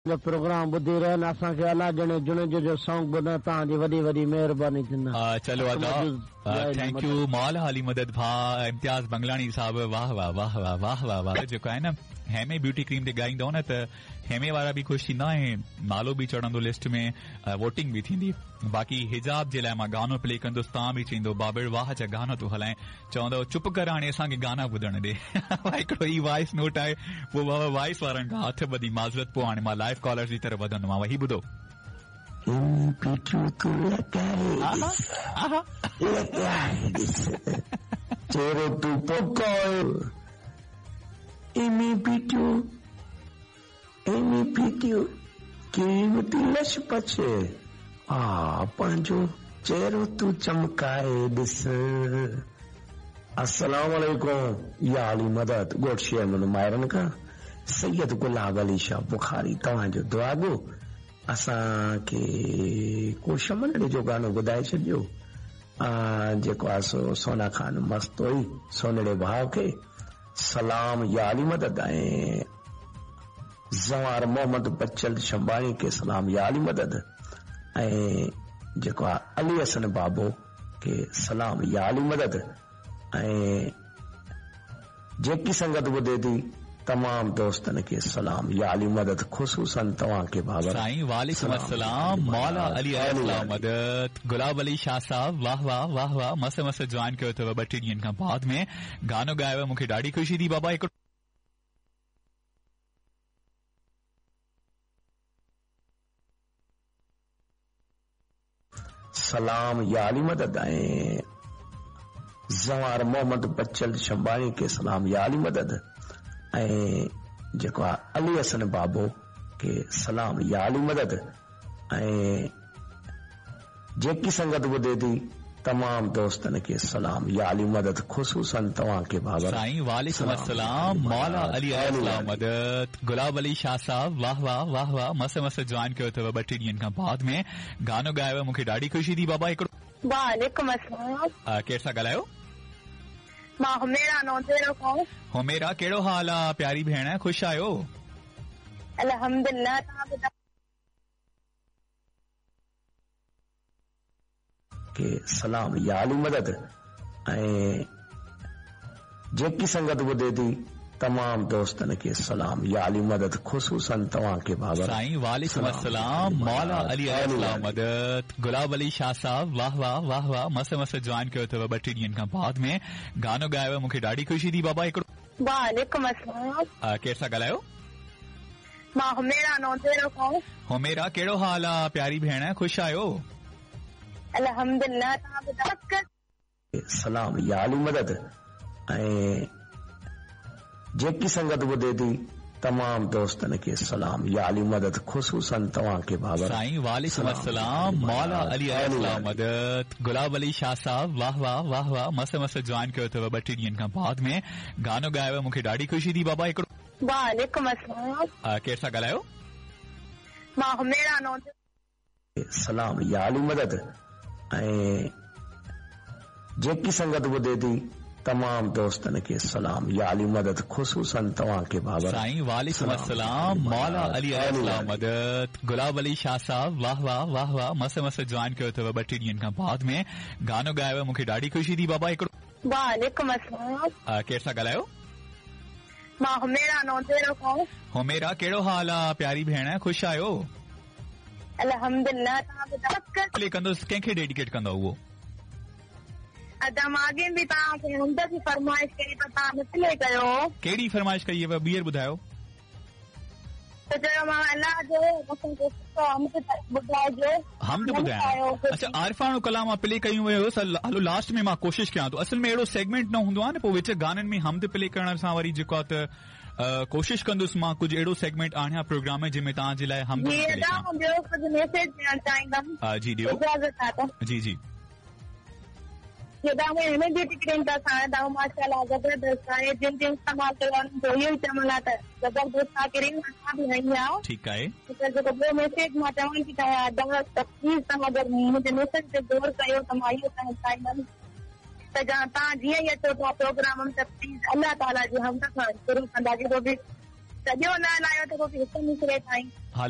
جو پروگرام ٻڌي رهيا آهن اسان کي الله ڄاڻي جوڻيجو جو سانگ ٻڌائڻ توهان جي وڏي وڏي مهرباني ٿيندي. چلو ادا thank you مولا علي مدد ڀاء امتياز بنگلاڻي صاحب واه واه واه واه واه واه واه جيڪو آهي نه هيمي بيوٽي ڪريم تي ڳائيندو نه ته هيمي وارا به خوش ٿيندا ۽ نالو به چڙهندو لسٽ ۾ ووٽنگ به ٿيندي باقي حجاب جي لاء مان گانو پلي ڪندس توهان به چئيندو بابڙ واه جا گانا ٿو هلائين چوندو چپ ڪر هاڻي اسان کي گانا ٻڌڻ ڏي هڪڙو هي وائس نوٽ آهي پوء بابا وائس وارن کان هٿ ٻڌي معذرت پوء هاڻي مان لائيو ڪالرز جي طرف وڌندومانو هي ٻڌو. ايمي پيٽيون تون لڳائي ڏس لڳائي ڏس چهرو تون پڪائي ايمي پيٽيون ايمي پيٽيون ڪريم تي لش پش آ پنهنجو چهرو تون چمڪائي ڏس. السلام عليڪم يا علي مدد ڳوٺ شير محمد مائرن کان سيد گلاب علي شاهه بخاري توهان جو دعاگو اسان کي ڪو شمنڙي جو گانو ٻڌائي ڇڏجو جيڪو آ سو سونا خان مستوئي سونڙي ڀاء کي سلام يا علي مدد ۽ زوار محمد بچل شنباڻي کي سلام يا علي مدد ۽ جيڪو آ علي حسن بابو کي سلام يا علي مدد ۽ جيڪي سنگت ٻڌي ٿي تمام دوستن کي سلام يا علي مدد خصوصا توهان کي بابر سائين وعليڪم السلام مولا علي عليه السلام مدد گلاب علي شاهه صاحب واه واه واه واه مس مس جوائن ڪيو اٿو ٻه ٽي ڏينهن کان بعد ۾ گانو ڳايو مون کي ڏاڍي خوشي ٿي بابا هڪڙو سلام يا علي مدد ۽ زوار محمد بچل شنباڻي کي سلام يا علي مدد ۽ جيڪو آ علي حسن بابو کي سلام يا علي مدد ۽ جيڪي سنگت ٻڌي ٿي تمام دوستن کي سلام يا علي مدد خصوصا توهان کي بابر سائين وعليڪم السلام مولا علي عليه السلام مدد گلاب علي شاهه صاحب واه واه واه واه مس مس جوائن ڪيو اٿو ٻه ٽي ڏينهن کان بعد ۾ گانو ڳايو مون کي ڏاڍي خوشي ٿي بابا هڪڙو وعليڪم السلام ڪير ٿا ڳالهايو؟ مان حميرا نوجيرو کان. حميرا ڪهڙو حال آ پياري ڀيڻ خوش آهيو؟ الحمدلله توهان ٻڌايو. کي سلام يا علي مدد ۽ جيڪي سنگت ٻڌي ٿي تمام دوستن کي سلام يا علي مدد خصوصا توهان کي بابر سائين وعليڪم السلام مولا علي عليه السلام مدد گلاب علي شاهه صاحب واه واه واه واه مس مس جوائن ڪيو اٿو ٻه ٽي ڏينهن کان بعد ۾ گانو ڳايو مون کي ڏاڍي خوشي ٿي بابا هڪڙو وعليڪم السلام ڪير ٿا ڳالهايو؟ مان حميرا نوجيرو کان. حميرا ڪهڙو حال آ پياري ڀيڻ خوش آهيو؟ الحمدلله توهان ٻڌايو. سلام يا علي مدد ۽ جيڪي سنگت ٻڌي ٿي تمام دوستن کي سلام يا علي مدد خصوصا توهان کي بابر سائين وعليڪم السلام مولا علي عليه السلام مدد گلاب علي شاهه صاحب واه واه واه واه مس مس جوائن ڪيو اٿو ٻه ٽي ڏينهن کان بعد ۾ گانو ڳايو مون کي ڏاڍي خوشي ٿي بابا هڪڙو وعليڪم السلام. ڪير ٿا ڳالهايو؟ مان حميرا نوجيرو. سلام يا علي مدد ۽ جيڪي سنگت ٻڌي ٿي تمام دوستن کي سلام يا علي مدد خصوصا توهان کي بابر سائين وعليڪم السلام مولا علي عليه السلام مدد گلاب علي شاهه صاحب واه واه واه واه مس مس جوائن ڪيو اٿو ٻه ٽي ڏينهن کان بعد ۾ گانو ڳايو مون کي ڏاڍي خوشي ٿي بابا هڪڙو وعليڪم السلام. ڪير ٿا ڳالهايو؟ مان حميرا نوجيرو کان. حميرا ڪهڙو حال آ پياري ڀيڻ خوش آهيو؟ الحمدلله توهان ٻڌايو. پلي ڪندس ڪنهن کي ڊيڊيڪيٽ ڪندؤ اهو؟ ادا مان اڳي به توهان کي حمد جي فرمائش ڪئي پر توهان نه پلي ڪيو. ڪهڙي فرمائش ڪئي هئي ٻيهر ٻڌايو. ته چيومانو الله جو اسان کي سٺو حمد ٻڌائجو. حمد ٻڌايان اڇا عارفاڻو ڪلام مان پلي ڪيون ويو هيس هلو لاسٽ ۾ مان ڪوشش ڪيان ٿو اصل ۾ اهڙو سيگمينٽ نه هوندو آهي نه پوء وچ گانن ۾ حمد پلي ڪرڻ سان وري جيڪو آهي ته ڪوشش ڪندس مان ڪجهه اهڙو سيگمينٽ آڻيان پروگرام ۾ جنهن ۾ توهان جي لاء حمد جي ادا مان ٻيو ڪجهه ميسيج ڏيڻ چاهيندم جي ڏيو اجازت آ ته جي جي جي ادا هن جي ٽڪڙين ته اسان ادا ماشاءالله زبردست آهي جن جن استعمال ڪيو انهن جو اهو ئي چوڻ آ ته زبردست آ ڪريم اسان به هنئي آ ٺيڪ آهي ته جيڪو ٻيو ميسيج مان چوڻ ٿي چاهيان ادا ته پليز توهان اگر منهنجي ميسيج تي غور ڪيو ته مان اهو چوڻ چاهيندم ته توهان جيئن ئي اچو ٿا پروگرام ۾ ته پليز الله تعالي جي حمد سان شروع ڪندا جيڪو به سڄو نه هلايو ته پوء به هڪ مصرعي تائين. هلو.